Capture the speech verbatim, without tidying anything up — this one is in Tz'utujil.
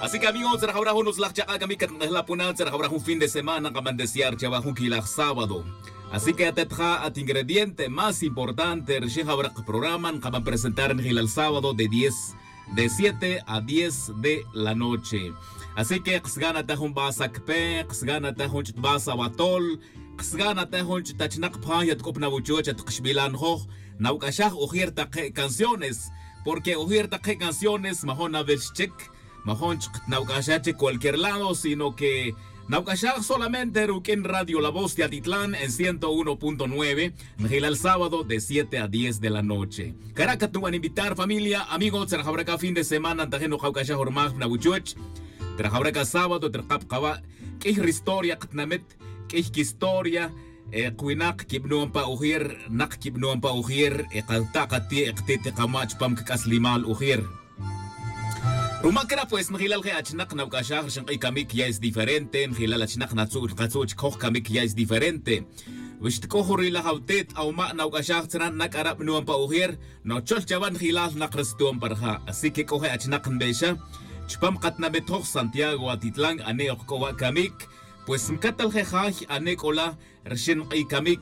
Así que amigos, tz'ara jawra jun utzlaj chak'a' camic catnk'ejla puna tz'ara jawra jun fin de semana kaban desear chawa jun quilaj sábado. Así que atet ja at ingrediente más importante rixin jawra kaprograma nkaban presentar njilal sábado de diez de siete a diez de la noche. Así que ksgana ta jun basa cpe ksgana ta jun ch'ut basa watol, ksgana ta jun ch'ut achnak pjan yatk'op na wuchuch at kxbilan joj. Nawc'axaj ujir take' canciones, porque ujir take' canciones majon nawil xchic. Majon chuk nawc'axaj chic cualquier lado sino que nawc'axaj solamente ruq'uin radio la voz de atitlan en ciento uno punto nueve. Njilal sábado de siete a diez de la noche. Cara' catnuban invitar familia amigo tzara jawra c'a fin de semana ntajin nukawc'axaj urmaj na wuchuch. Tzara jawra c'a sábado tzara kab kawa' q'uiy ri historia katnamit, q'uiy quistoria. Kwinak quibnuon pa ujir nak quibnuon pa ujir. Kata' kati' ktit kamach pam kac'aslimal ujir. Ruma cra pues njilal je' achnak nawc'axaj rixin k'iy camic ya es diferente njilal achnak natzu' katzu' chicoj camic ya es diferente. Wi xtc'uj ri laj awtet awma' nawc'axaj tzra na c'ara' bnuon pa ujir. Nochol chawa njilal nak ri stuon pa rija' así que c'o je' achnak nbexa chupam katnabet joj santiago atitlan ane' ok c'o wa' camic. Pues ncatal je' jay ane' c'ola rixin k'iy camic.